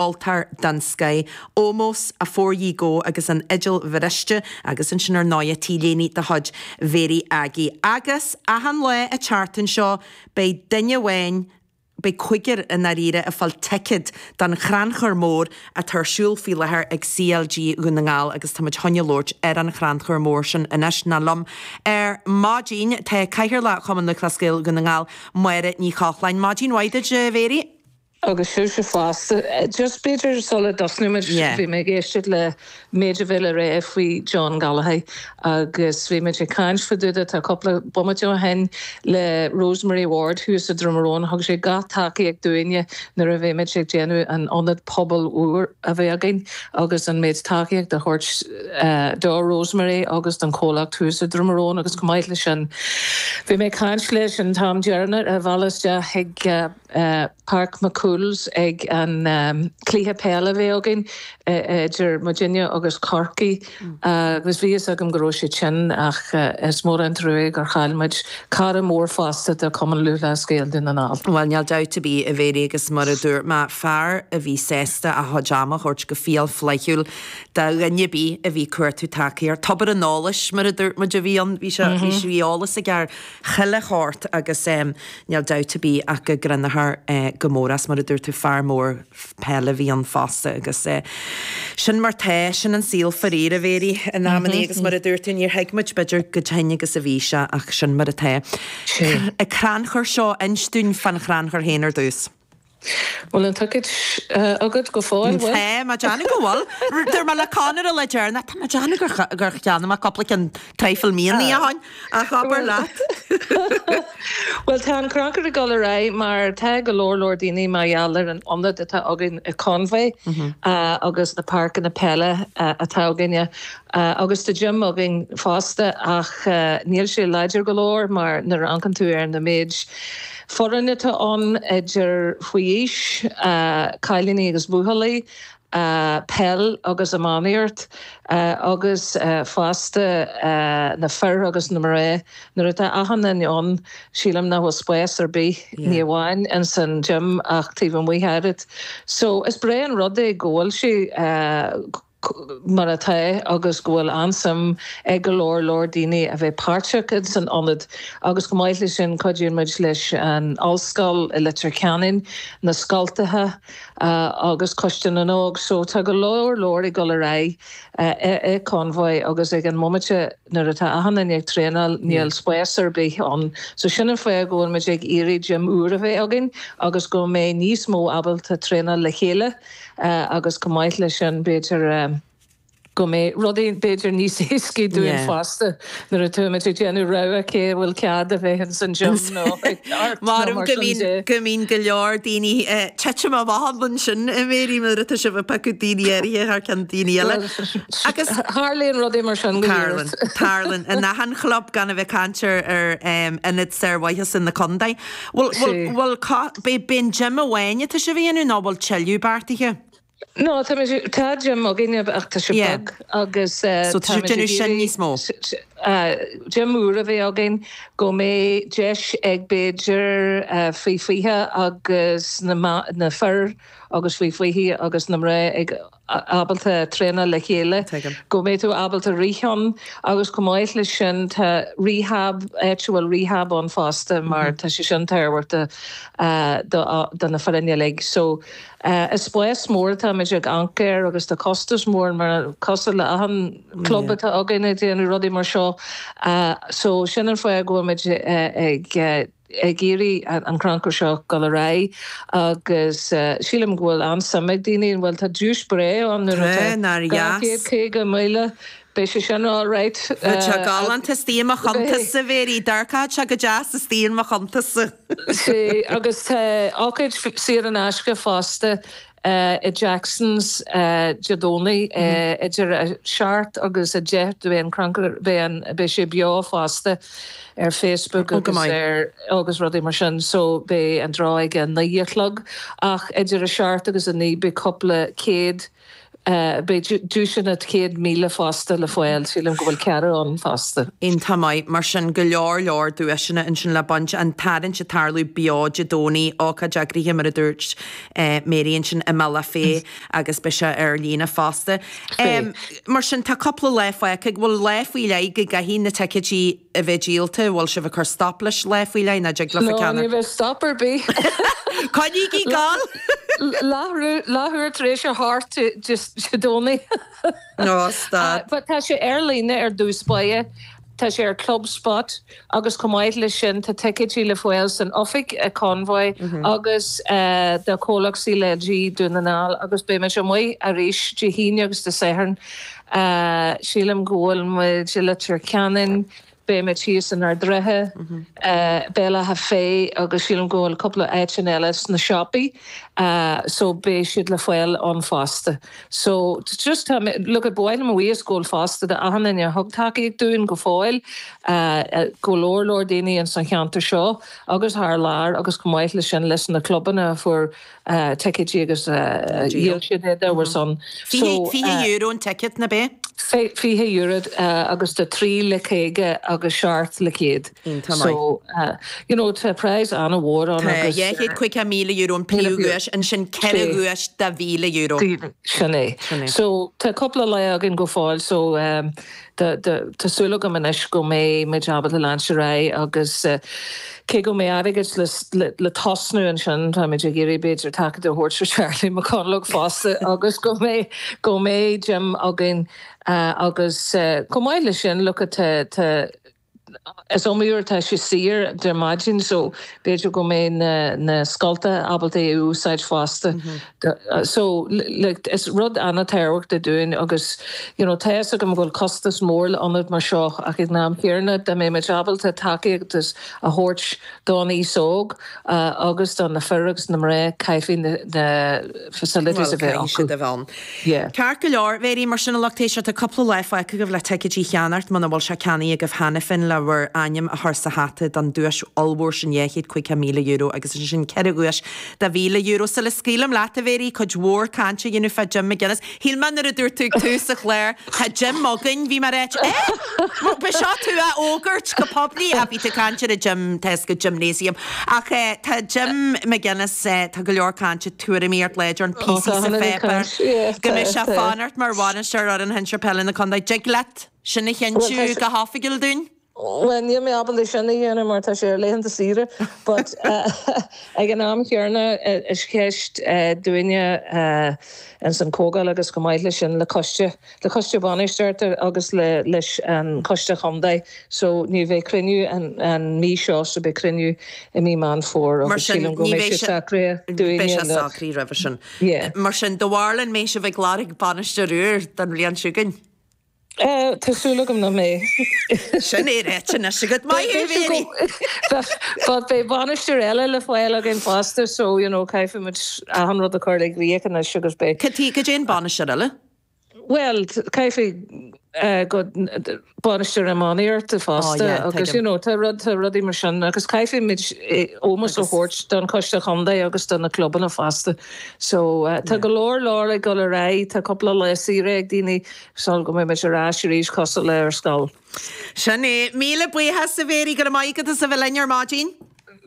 Ceoltóir den scoith, Ómós, Afore Ye Go agus an Fhidil Bhriste agus ansin ar ndóighe T-léine de chuid Mhéirí Aggie. Agus achan lá an tseachtain seo beidh duine amháin, beidh cúigear i ndáiríre ag fáil ticéad don chrannchur mór atá ar siúl faoi láthair ag CLG Dhún na nGall agus tá muid chun a labhairt ar an chrannchur mór sin anois. Nó liom ar maidin tá Cathaoirleach Chumann Lúthchleas Gael Dhún na nGall, Máire Ní Chochláin. Maidin mhaith duit a Mhéirí. Agus sibhse fosta. Just b'fhéidir sula dtosnaímid, bhí mé ag éisteacht le méid a bhí le rá faoi John Gallagher agus bhí muid ag caint fá dtaobh de tá cúpla bomaite ó shin le Rosemary Ward thuas i Droim Rón. Thug sé gach tacaíocht dúinne nuair a bhí muid ag déanamh an ionad pobail úr a bheith againn agus an méid tacaíocht a thabhairt do Rosemary agus don chomhlacht thuas i Droim Rón agus chomh maith leis sin bhí mé ag caint leis an t-am deireanach ar bhealach isteach chuig Páirc McCool's ag an cluiche peile a bhí againn idir muidinne agus Corcaigh agus bhí fhios agam go raibh sé tinn ach is mór an trua gur chaill muid cara mór fosta do Chumann Lúthchleas Gael Dún na nGall. Bhuel, níl dabht ar bith, a Mhéirí, agus mar a dúirt mé, fear a bhí sásta a chuid ama a thabhairt go fial flaithiúil do dhuine ar bith a bhí ag cuartú tacaíocht. Tobar an eolais, mar a dúirt muid, a bhí ann. Bhí sé, bhí sé, bhí eolas aige ar chuile shórt agus níl dabht ar bith ach go gcronófar go mór as, mar a dúirt tú, fear mór peile a bhí ann fosta agus sin mar tá, sin an saol faraor, a Mhéirí, in amannaí agus mar a dúirt tú, níor thuig muid b'fhéidir chomh tinn agus a bhí sé ach sin mar atá. An crannchur seo, inis dúinn fán chrannchur féin ar dtús. Bhfuil an ticéad agat go fóill, bhfuil? Tá mé ag déanamh go bhfuil. Dúirt mé le Conor an lá deireanach, tá mé ag déanamh gur gur cheannaigh mé cúpla ceann traidhfil míonna ó shin, ach abair leat. Bhuel, tá an crannchur ag dul ar aghaidh mar tá go leor leor daoine mar gheall ar an ionad atá againn i Conmhaigh agus na páirceanna peile atá againne agus tá gym againn fosta ach níl sé láidir go leor mar nuair a amharcann tú ar na méid Foireann atá ann idir faoi aois, cailíní agus buachaillí, peil agus iománaíocht agus fosta na fir agus na mná. Nuair atá achan duine ann, sílim nach bhfuil spás ar bith, ní amháin ins an gym ach taobh amuigh oiread. So is breá an rud é go bhfuil sé. mar atá agus go bhfuil an-suim ag go leor leor daoine a bheith páirteach ins an ionad agus chomh maith leis sin cuidíonn muid leis an ollscoil i Leitir Ceanainn, na scoltacha agus Coiste na nÓg. So tá go leor leor ag dul ar aghaidh i Conmhaigh agus ag an mbomaite nuair atá achan duine ag traenáil níl spás ar bith ann. So sin an fáth go bhfuil muid ag iarraidh gym úr a bheith againn agus go mbeidh níos mó ábalta traenáil le chéile. Agus chomh maith leis sin, b'fhéidir go mbeidh rudaí b'fhéidir níos éascaí dúinn fosta nuair atá muid ag déanamh rogha cé a bhfuil cead a bheith ins an gym nó ag art nó mar sin de. Go mbíonn go leor daoine ag titim amach ansin, a Mhéirí, nuair atá sibh ag piocadh daoine áirithe thar ceann daoine eile. Agus. Tarlaíonn rudaí mar sin go Tarlaíonn, tarlaíonn. In achan chlub, gan a bheith ag caint ar ionad sármhaitheasa na contae. Bhfuil, bhfuil, bhfuil, beidh, beidh an gym amháin atá sibh a dhéanamh nó bhfuil tuilleadh beartaithe? No, tá muid, tá gym againne ach tá sé Yeah. beag agus So tá tá sibh muid ag déanamh sin iarraidh níos mó? gym úr a bheith againn go mbeidh deis ag b'fhéidir faoi 20 agus na, na fir agus faoi 20 agus na mná ag ábalta traenáil le chéile, go mbeidh tú ábalta rith ann agus chomh maith leis sin tá rehab, áit a bhfuil rehab ann fosta mar tá sé sin tábhachtach do na foirne uilig. So is spás mór atá muid ag amharc air agus tá costas mór mar cosúil le achan club atá againn ag déanamh rudaí mar seo. So sin an fáth go bhfuil muid ag ag iarraidh an crannchur seo dul ar aghaidh agus sílim go bhfuil an-suim ag daoine, bhuel tá duais breá ann nuair atá 250,000, beidh sé sin all right. Bheadh sé galánta istigh i mo chuntas, a Mhéirí, d'amharcfadh sé go deas istigh in mo chuntas-sa. Sea, agus tá ócáid saor in aisce fosta i Jackson's Dé Domhnaigh idir 7 agus 10 beidh an crannchur, beidh an, beidh sé beo fosta ar Facebook agus ar, agus rudaí mar sin so beidh an draw ag a 9 a chlog ach idir 7 agus 9 beidh cúpla céad. Beidh duaiseanna 100,000 fosta le fáil, sílim go bhfuil ceathrú ann fosta. Iontach maith, mar sin go leor leor duaiseanna ansin le baint, an tarraingt ag tarlú beo Dé Domhnaigh, ócáid eagraithe mar a dúirt Mary ansin i mBealach Féich agus beidh sé ar líne fosta. Mar sin tá cúpla lá fágtha, bhfuil lá faoi leith go gcaithfidh na ticéidí a bheith díolta, bhfuil sibh ag cur stop leis lá faoi leith nó dtig leofa No, ní bheidh stop ar bith. Coinnígí ag gabháil! Leathuair tar éis a hocht Dé Domhnaigh. No, stad. But tá sé ar líne ar dtús báire, tá sé ar Clubspot agus chomh maith leis sin tá ticéidí le fáil san oifig i Convoy agus do chomhlacht CLG Dún na nGall agus beidh muid amuigh arís Dé hAoine agus Dé Sathairn. Sílim go bhfuil muid i Leitir Ceanainn, beidh muid thíos in Ard Ratha, Béal Átha Féith agus sílim go bhfuil cúpla áiteanna eile sna siopaí so beidh siad le fáil ann fosta. So just tá mé, look ba mhaith liom a bhuíochas a ghabháil fosta do achan duine a thug tacaíocht dúinn go fóill, go leor leor daoine ins an cheantar seo agus thar lear agus chomh maith leis sin leis na clubanna a fuair ticéidí agus dhíol siad iad ar son. €20 an ticéad, nó ab ea? €20 agus tá 3 le 50 agus 7 le 100. Iontach maith. So, you know, tá praghas an-mhór ann agus. Tá €250,000 an príomhdhuais, ansin 4 dhuais de €1,000. Sin é. So, tá cúpla lá againn go fóill so Tá súil agam anois go mbeidh muid ábalta leanúint ar aghaidh agus cé go mbeidh airgead le tosnú ansin, táimid ag iarraidh b'fhéidir tacaíocht a thabhairt do Charlie McConalogue fosta agus go mbeidh go mbeidh gym againn agus chomh maith leis sin look tá tá Is iomaí uair atá sé saor ar maidin so b'fhéidir go mbeidh na na scoltacha ábalta é a úsáid fosta. So like is rud an-tábhachtach dúinn agus you know tá fhios agam go bhfuil costas mór le ionad mar seo ach ag an am chéanna dá mbeidh muid ábalta tacaíocht a thabhairt don aos óg agus do na fir agus na mná caithfidh na facilities a bheith acu. Caithfidh siad a bheith ann. Yeah. Ceart go leor, Mary, mar sin a lucht éisteachta, cúpla lá fágtha agaibh le ticéidí a cheannacht muna bhfuil sé ceannaithe agaibh cheana féin le bhur ainm a chur sa hata don duais ollmhór sin €250,000 agus ansin 4 dhuais de €1,000. Sula scaoilim leat, a Mhary, cuid mhór cainte a dhéanamh fá Jim McGuinness. Shíl mé nuair a dúirt tú ag tús an chláir, tá gym againn, bhí mé ag ráit, eh? Ba seo tú á fhógairt go poiblí, ach bhí tú ag caint ar an gym, tá fhios agat, gymnasium. Ach tá Jim McGuinness, tá go leor cainte, tuairimíocht láidir ann, píosaí sa pháipéar, go mbeidh sé ag fanacht mar bhainisteoir fhoireann shinsir peile na contae. Dtig leat sin a chinntiú go hoifigiúil dúinn? Bhuel, níl mé ábalta sin a dhéanamh mar tá sé ar laethanta saoire, but ag an am chéanna is ceist dúinne ins an Chomhdháil agus chomh maith leis sin le coiste, le coiste bainistíochta agus le leis an choiste chontae so ní bheidh cruinniú an an mí seo so beidh cruinniú i mí Meán Fómhair agus sílim go mbeidh sé socraithe dúinne Beidh sé socraithe roimhe sin. Yeah. Mar sin, do bharúil an mbeidh sibh ag lorg bainisteoir úr don bhliain seo chugainn? Tá súil agam nach mbeidh. Sin é ráite anois agat. Maith thú, Mary! But beidh bainisteoir eile le fáil againn fosta so, you know, caithfidh muid achan rud a chur i gcrích anois agus beidh. Cad é an bainisteoir eile? Bhuel, caithfidh go bainisteoir iománaíochta fosta agus, you know, tá rud, tá rudaí mar sin agus caithfidh muid ómós a thabhairt don choiste chontae agus do na clubanna fosta. So, tá go leor leor ag dul ar aghaidh, tá cúpla lá saoire ag daoine sul go mbeidh muid ar ais arís cosúil le ar scoil. Sin é. Míle buíochas, a Mhary, go raibh maith agat as a bheith linn ar maidin.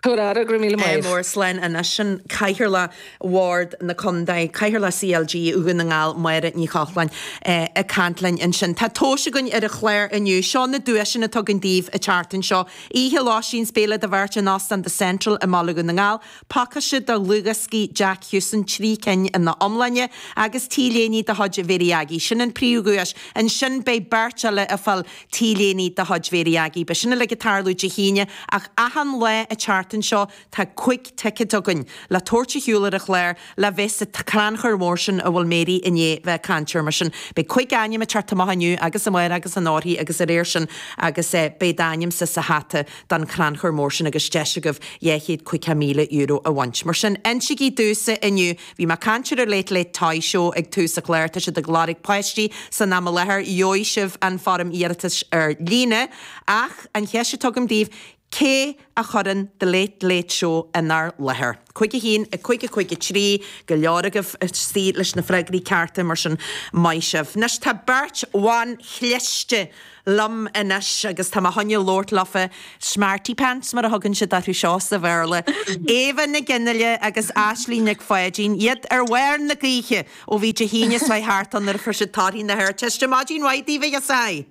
Tabhair aire, go raibh míle maith. Mór slán anois. Sin Cathaoirleach Bhord na Contae, Cathaoirleach CLG Dhún na nGall, Máire Ní Chochláin, ag caint linn ansin. Tá tomhais againn ar an chlár inniu. Seo na duaiseanna atá againn daoibh an tseachtain seo. Oíche lóistín 's béile do bheirt in Óstán The Central i mBaile Dhún na nGall. Pacáiste de dhlúthdhioscaí Jack Hewson, 3 cinn ina iomláine, agus T-léine de chuid Mhary Aggie. Sin an príomhdhuais. Ansin beidh beirt eile ag fáil T-léine de chuid Mhary Aggie. Beidh sin uilig ag tarlú Dé hAoine ach achan lá an tseachtain seo tá 5 ticéad againn le tabhairt ar shiúl ar an chlár le bheith sa chrannchur mór sin a bhfuil Mary i ndiaidh bheith ag caint air. Mar sin beidh 5 ainm ag teacht amach inniu agus amárach agus anórthaidh agus ar air sin agus beidh d'ainmse sa hata don chrannchur mór sin agus deis agaibh €250,000 a bhaint. Mar sin, insígí domhsa inniu, bhí mé ag caint ar an Late Late Toy Show ag tús an chláir, tá siad ag lorg páistí san am i láthair, gheobhaidh sibh an foirm iarratais ar líne, ach an cheist atá agam daoibh, Cé a chuireann The Late Late Show inár láthair? 5 1 5 5 3, go leor agaibh istigh leis na freagraí cearta, mar sin maith sibh. Anois tá beirt bhan chliste liom anois agus tá mé chun labhairt leofa, smarty pants mar a thugann siad orthu seo sa Bhéarla, Éabha Nic Fhionnghaile agus Aisling Nic Pháidín, iad ar bharr na gaoithe ó bhí Dé hAoine seo thart ann nuair a fuair siad torthaí na hArdteiste. Maidin mhaith daoibh a ghirseachaí!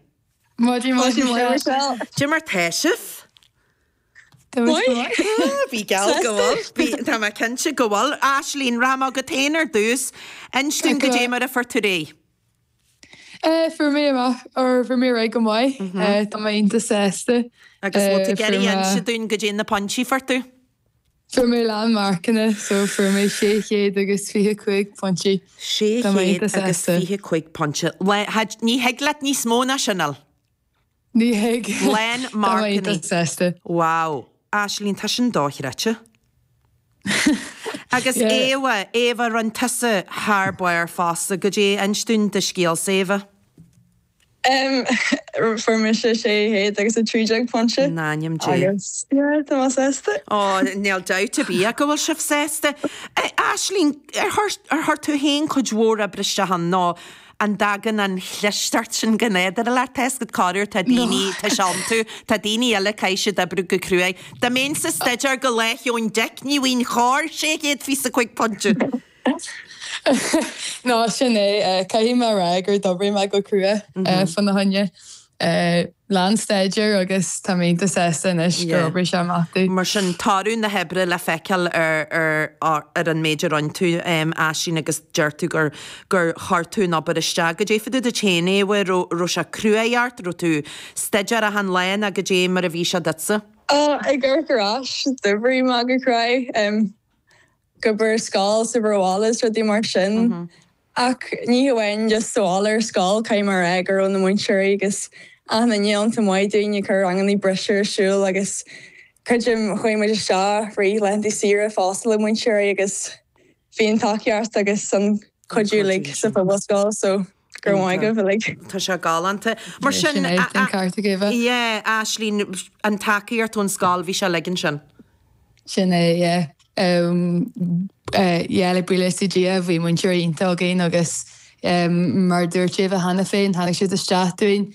Maidin mhaith Michelle. Cad é mar tá sibh? Tá muid go maith. Bhí geall go bhfuil. Bhí, tá mé cinnte go bhfuil. Aisling, rachaidh mé agat féin ar dtús. Inis dúinn goidé mar a fuair tú ar aghaidh. Fuair mé amach, or fuair mé ar aghaidh go maith. Tá mé iontach sásta. Agus bhfuil tú ag iarraidh inse dúinn goidé na pointí a fuair tú? Fuair mé lán marcanna, so fuair mé 625 pointí. Tá mé iontach sásta. 625 pointe. Ní thig leat níos mó ná sin a fháil. Ní thig. Lán Tá mé marcanna. iontach sásta. Wow. Aisling, tá sin dochreidte. Agus Yeah. Éabha, Éabha, rinne tusa thar barr fosta. Goidé, inis dúinn do scéalsa, Éabha. Fuair mise 613 pointe. In ainm Dé. Agus, yeah, tá mé sásta. Ó, níl dabht ar bith go bhfuil sibh sásta. Aisling, ar chuir, ar chuir tú féin cuid mhór oibre isteach ann nó an dtagann an chlisteacht sin go nádúrtha leat? Tá a fhios agat corruair tá daoine, tá sé iontu, tá daoine eile caithfidh siad oibriú go cruaidh. Dá mbeinnse ag staidéar go Lá Cheoin Dic, ní bhfaighinn chor 625 pointe. Ná sin é. Caithfidh mé a rá gur d'oibrigh mé go crua fána choinne. Lán staidéir agus tá mé iontach sásta anois gur oibrigh sé amach domh. Mar sin, toradh na hoibre le feiceáil ar ar an méid a rinne tú, Aisling, agus deir tú gur gur chuir tú an obair isteach. Goidé fá dtaobh duit féin, Éabha, raibh raibh sé cruaidh ort, raibh tú staidéar achan lá nó goidé mar a bhí sé duitse? Ag amharc ar ais, d'oibrigh mé go cruaidh. ag obair ar scoil is obair bhaile is rudaí mar sin. Ach ní hamháin just sa bhaile ar scoil, caithfidh mé a rá go raibh na múinteoirí agus achan duine iontach maith dúinn ag cur ranganna breise ar siúl agus creidim chuaigh muid isteach rith laethanta saoire fosta le múinteoirí agus bhí an tacaíocht agus an cuidiú uilig sa phobalscoil so go raibh maith agaibh uilig. Tá sé galánta. Mar sin, Sin é, an ceart ag Éabha. yeah, Aisling, an tacaíocht ón scoil, bhí sé uilig ansin. Sin é, yeah. Yeah, le buíochas do Dhia, bhí múinteoirí iontach againn agus mar a dúirt Éabha cheana féin, tháinig siad isteach dúinn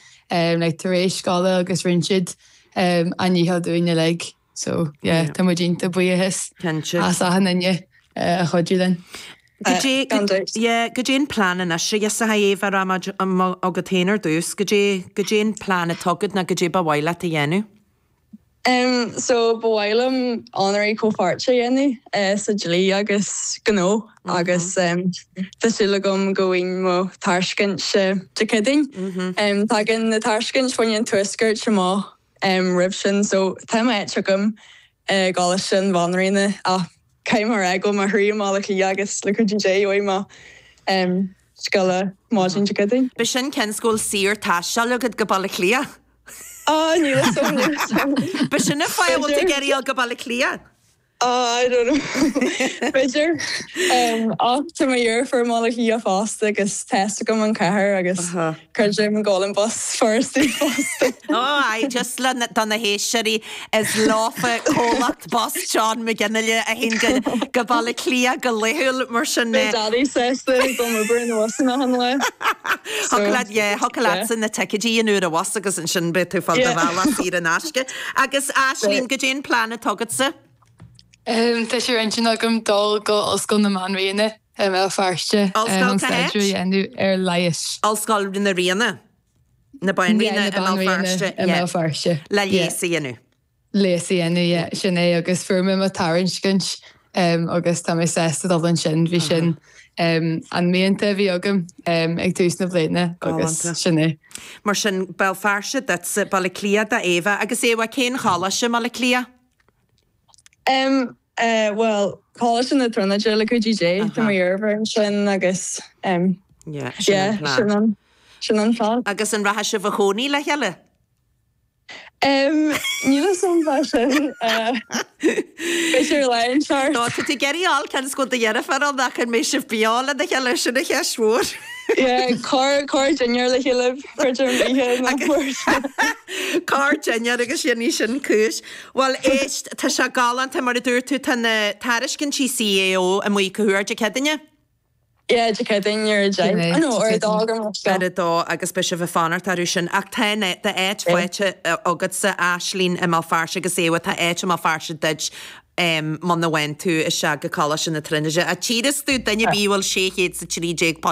like tar éis scoile agus rinne siad a ndícheall dúinn uilig. So, yeah, tá muid iontach buíochas as achan duine a chuidigh linn. Goidé, yeah, goidé an plean anois a ghiorsacha Éabha, rachaidh mé agat féin ar dtús, goidé, goidé an plean atá agat nó goidé ba mhaith leat a dhéanamh? Em so ba mhaith liom onóraí comhpháirte a dhéanamh sa dlí agus gnó agus em tá súil agam go bhfaighinn mo tairiscint Dé Céadaoin. Em tagann na tairiscint fá choinne an Tuaiscirt amach em roimh sin so tá m'áit agam i gColáiste na Banríona ach caithfidh mé a rá go bhfuil mo chroí i mBaile Átha Cliath agus le cuidiú Dé gheobhaidh mé em scéala maidin Dé Céadaoin. B'shin cionn 's go bhfuil saor-taisteal agat go Baile Átha Cliath. Ah, níl a fhios agam, níl a fhios agam. B'shin an fáth a bhfuil tú ag iarraidh a dhul go Baile Átha Cliath. Ah, I don't know. B'fhéidir. Ach tá mo dheirfiúr i mBaile Átha Cliath fosta agus tá a fhios agam an chathair agus creidim go bhfuil an bus furasta fosta. Oh aye, just le do na héisteoirí is leofa comhlacht bus John McGinley a théann go Baile Átha Cliath go laethúil mar sin. Beidh Daddy sásta go bhfuil obair na bhusanna achan lá. Thiocfadh leat, yeah, thiocfadh leatsa na ticéidí a dhéanamh ar an bhus agus ansin beidh tú ag fáil do bhealach saor in aisce. Agus Aisling, goidé an plean atá agatsa? Tá sé ar intinn agam dul go Ollscoil na Banríona i mBéal Feirste Ollscoil chun cá háit? staidéar a dhéanamh ar leigheas. Ollscoil na Ríona? Na Banríona Yeah, i na mBéal Banríona Feirste, i yeah. mBéal Feirste. Le Yeah. leigheas a dhéanamh. Leigheas a dhéanamh, yeah, sin é agus fuair mé mo tairiscint agus tá mé sásta dul ansin, bhí sin an mianta a bhí agam ag tús na bliana agus sin é. Mar sin, Béal Feirste duitse, Baile Átha Cliath d'Éabha. Agus Éabha, cén choláiste i mBaile Átha Cliath? Em, eh, bhuel, Coláiste na Tríonóide le cuidiú Dé, tá mo dheirfiúr ansin agus, em, Yeah, sin yeah, an plean. sin an, sin an plean. Agus an rachaidh sibh a chónaí le chéile? Níl a fhios agam fá sin. B'fhéidir lá inteacht. Nó tá tú ag iarraidh a fháil cionn is go bhfuil do dheirfiúr ann ach an mbeidh sibh beo lena chéile, sin an cheist mhór. Yeah, corr dinnéar le chéile, creidim, oíche na cuairte. Corr dinnéar agus sin í sin cúis. Bhuel, éist, tá sé galánta, mar a dúirt tú, tá na tairiscintí CAO amuigh cá huair, Dé Céadaoine? Yeah, Dé Céadaoine ar a 10, nó ar a 2 go mbeadh. Ar a 2 agus beidh sibh ag fanacht orthu sin. Ach tá d'áit faighte agatsa, Aislinn, i mBéal Feirste agus Éabha, tá áit i mBéal Feirste duit muna bhfaigheann tú isteach go Coláiste na Tríonóide. Ach tchífidh tú duine ar bith a bhfuil £613.